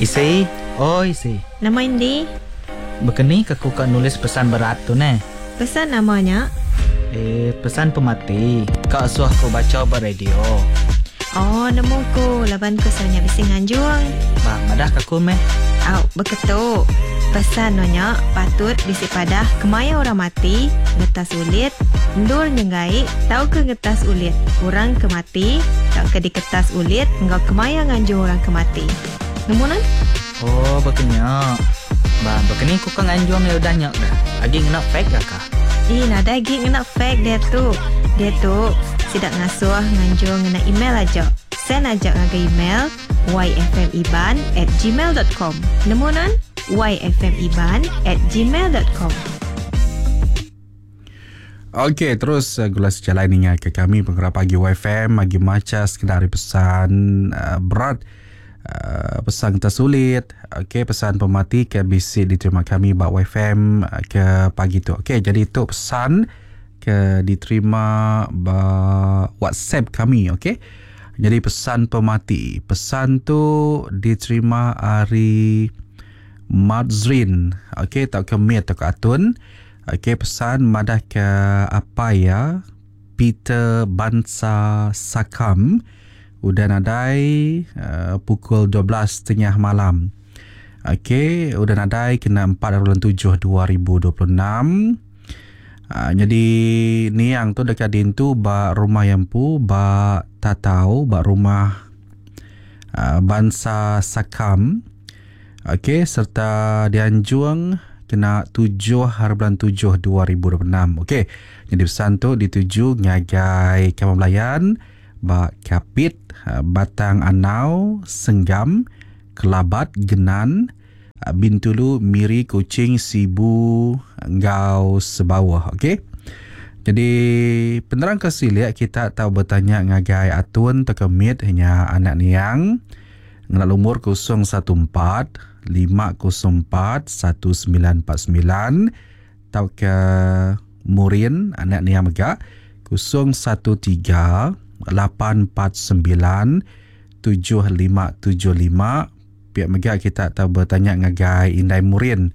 Isi, oi isi. Nama indi? Bekeni ke ku ka nulis pesan berat tu neh? Pesan nama nya? Eh, pesan pemati. Ka suah ku bacha ba radio. Oh, nemu ku laban ku selalu nya bisi nganjung. Bah, madah ka ku meh. Au, beketu. Pesan no nya patut bisi padah kemaya orang mati, ngetas ulit, endur nyenggai tauka ngetas ulit orang ke mati tauka diketas ulit enggau kemaya nganjung orang ke mati. Nemu nuan? Oh, baka nya. Ba, baka ni ku ka nganjung iya udah nya ga? Agi ngena fax ga ka? Ih, nadai agi ngena fax diatu. Diatu, sida ngasuh nganjung ngena email aja. Send aja ngagai email yfmiban at gmail dot com. Nemu nuan? yfmiban at gmail dot com. Okey, terus gula sejalai ninga ke kami pengerap pagi YFM agi macha sekeda ari pesan uh, berat uh, pesan kita sulit okey pesan pemati ke bisi diterima kami ba YFM uh, ke pagi tu. Okey, jadi tu pesan ke diterima ba WhatsApp kami okey. Jadi pesan pemati, pesan tu diterima ari Madzrin okey tauka Mit tauka Atun. Ok pesan madah ke apai iya Peter Bansa Sakam udah nadai pukul 12 tengah malam. Ok udah nadai kena 4 bulan 7 2026. Nyadi niang tu deka diintu ba rumah iya empu ba Tatau ba rumah Bansa Sakam. Ok serta dianjung kena tujuh hari bulan tujuh 2026. Ok nyadi pesan tu dituju ngagai kaban belayan ba Kapit, Batang Anau, Senggam, Kelabat, Genan, Bintulu, Miri, Kuching, Sibu enggau Sebauh. Ok jadi penerang ke silik kita tau betanya ngagai Atun tauka Mit nya anak niang. Ngena lumur 014 504 1949 tauka Murin anak nia mega 013 849 7575 pia mega kita tau betanya ngagai indai Murin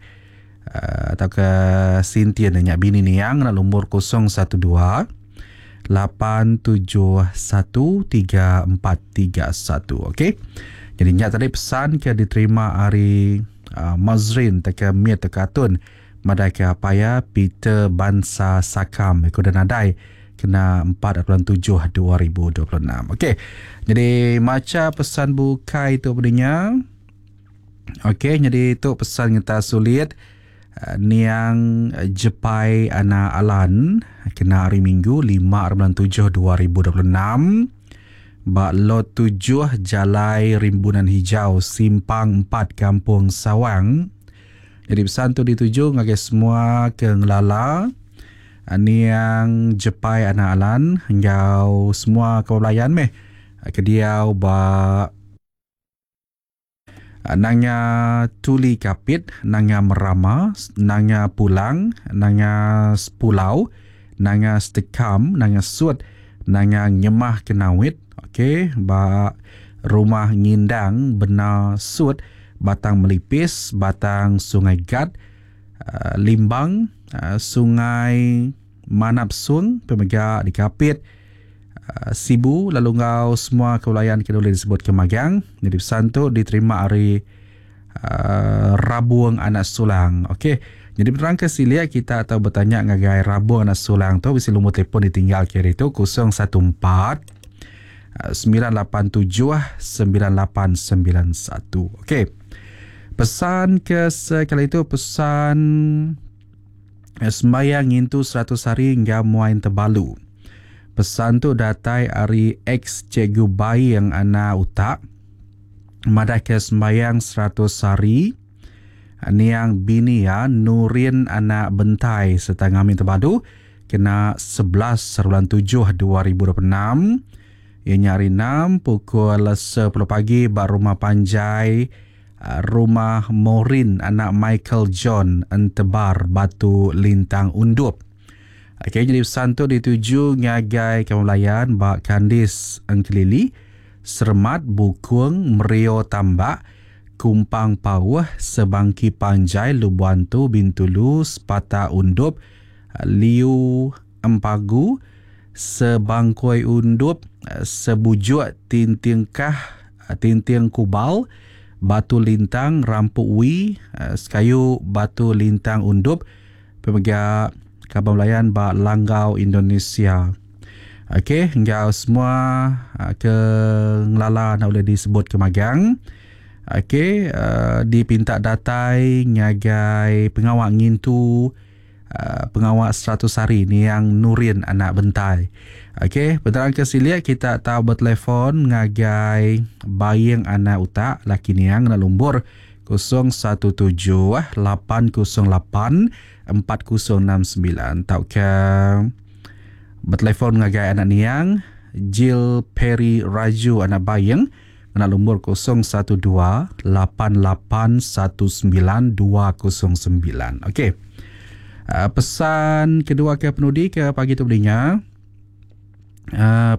uh, tauka Sintian nya bini niang ngena lumur 012 871 3431 okey. Jadi nya tadi pesan ke diterima ari uh, Mazrin teka Mit teka Atun madai ke apaya Peter Bansa Sakam iku dan nadai kena 4 bulan 7 2026. Okey. Jadi maca pesan bukai tu berinya. Okey, jadi tu pesan kita sulit. Niang Jepai Anak Alan kena hari Minggu 5 bulan 7 2026 ba Lot 7 Jalai Rimbunan Hijau Simpang 4 Kampung Sawang. Jadi pesan tu dituju ngagai semua ke ngelala Niang Jepai Anak Alan enggau semua kaban belayan meh ke diau ba Nanga Tuli Kapit, Nanga Merama, Nanga Pulang, Nanga Sepulau, Nanga Setekam, Nanga Sut, Nanga Ngemah Kenawit, okey, ba Rumah Ngindang, Bena Sut, Batang Melipis, Batang Sungai Gat, Limbang, Sungai Manap Sung, pemega di Kapit, Sibu lalu enggau semua kebelayan ke ulih disebut ke magang. Jadi pesan tu diterima ari uh, Rabung Anak Sulang. Okey. Jadi penerang ke silik kita atau bertanya ngagai Rabung Anak Sulang tu bisi lumur telefon ditinggal ke hari tu 014 987 9891. Okey. Pesan ke sekali itu pesan Sembayang ngintu 100 hari enggau muai entebalu. Pesan tu datai ari ex Cikgu Baing anak utak madahka sembayang 100 hari niang bini iya Nurin anak Bentai sereta ngami tebadu kena 11 bulan 7 2026 iya nya hari enam pukul 10 pagi ba rumah panjai Rumah Maureen anak Michael John Entebar Batu Lintang Undup. Okey jadi pesan tu dituju ngagai kaban belayan ba Kandis Engkelili, Seremat, Bukung, Merio Tambak, Kumpang Pauh, Sebangki Panjai, Lubuantu, Bintulu, Sepata Undup, Liu Empagu, Sebangkoi Undup, Sebujuk Tintingkah, Tinting Kubal, Batu Lintang, Rampu Wi, Sekayu Batu Lintang Undup, pemega kaban belayan ba Langgau Indonesia. Okey, enggau semua ke ngelala enda ulih disebut ke magang. Okey, dipinta datai ngagai pengawa ngintu pengawa 100 hari niang Nurin anak Bentai. Okey, penerang ke silik kita tau betelefon ngagai Baing anak Utak laki niang ngena lumur 017 808 4069 tauka betelefon ngagai anak niang Jill Perry Raju anak Baing ngena lumur 012 8819 209. Okey. Pesan kedua ke penudi ke pagi tu belinga.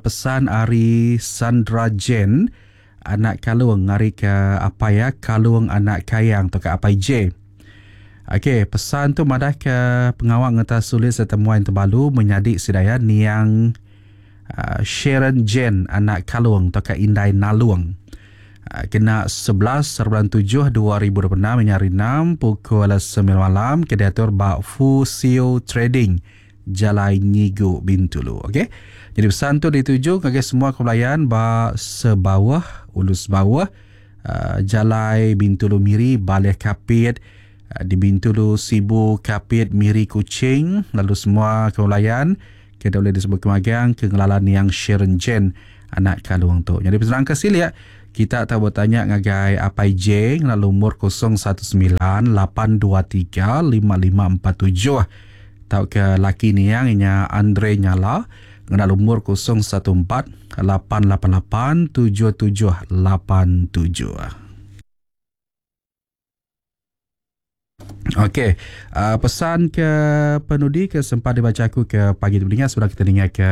Pesan ari Sandra Jane anak Kalung ngari ke apai ya Kalung anak Kayang atau ke apai J. Okey, pesan tu madah ke pengawa ngetas sulit serta muai tebalu menyadi sidaya niang Sharon Jane anak Kalung atau ke Indai Nalung. Kena 11 bulan 7 2026 hari 6 pukul 9 malam ke diatur ba Fusio Trading Jalai Nyigu Bintulu. Okey. Jadi pesan tu dituju ngagai semua kebelayan ba Sebawah, Ulu Sebawah, Jalai Bintulu Miri, Baleh Kapit, di Bintulu Sibu, Kapit, Miri, Kuching, lalu semua kebelayan ke boleh disebut kemagang ke ngelalan yang Sharon Jane anak Kalung tu. Jadi pesan ke silik kita tahu bertanya ngagai Apai J ngena lumur 019 823 5547 tau ke laki niang inya Andre Nyala ngena lumur 014 888 7787. Okey, pesan ke penudi ke sempat dibaca aku ke pagi tu dengar sudah kita dengar ke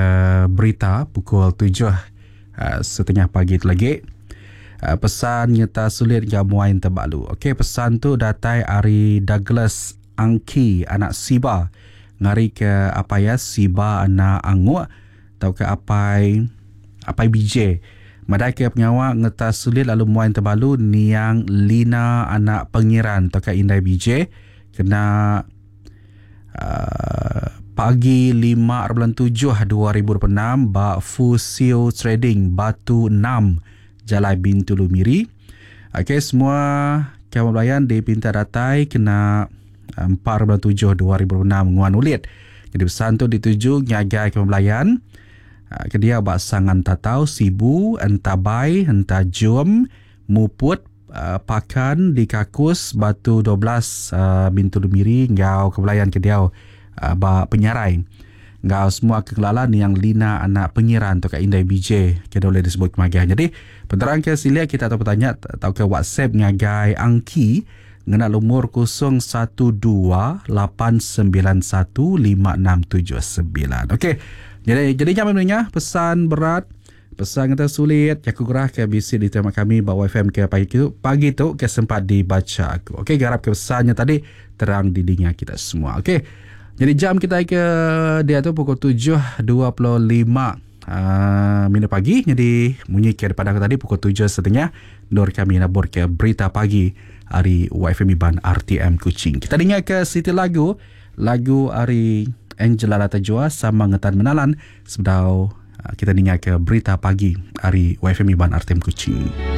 berita pukul 7:30 pagi tu lagi. Pesan nyata sulit gamuain tebalu. Okey, pesan tu datai ari Douglas Angki anak Siba ngari ke apa ya Siba anak Anguk tau ke apai apai BJ. Madai ke pengawa ngetas sulit lalu muain tebalu niang Lina anak Pengiran tau ke Indai BJ kena pagi 5 bulan 7 2026 ba Fusio Trading Batu 6 Jalai Bintulu Miri. Okey, semua kawan belayan dipinta datai kena 4 bulan 7 2026 nguan ulit. Jadi pesan tu dituju ngagai kawan belayan ke dia ba Sangan Tatau, Sibu, Entabai, Entajum, Muput, Pakan, di Kakus, Batu 12, Bintulu Miri ngau kebelayan ke dia ba Penyarai. Ngau semua kekelalan yang Lina anak Pengiran atau ke Indai BJ ke boleh disebut kemagian. Jadi penerang ke silia kita atau bertanya atau ke WhatsApp ngagai Angki ngena lumur 012 891 5679. Okey. Jadi jam sebenarnya pesan berat, pesan kata sulit, aku gerah ke bisi diterima kami bawa FM ke pagi tu ke sempat dibaca aku. Okey, garap ke pesannya tadi terang di dinga kita semua. Okey. Jadi jam kita ke dia tu pukul 7.25 minit pagi. Jadi bunyi ke depan aku tadi pukul 7.30 nur kami nabur ke berita pagi hari YFM Iban RTM Kuching. Kita dengar ke siti lagu hari Angela Latajua sama ngetan menalan sebedau kita dengar ke berita pagi hari YFM Iban RTM Kuching.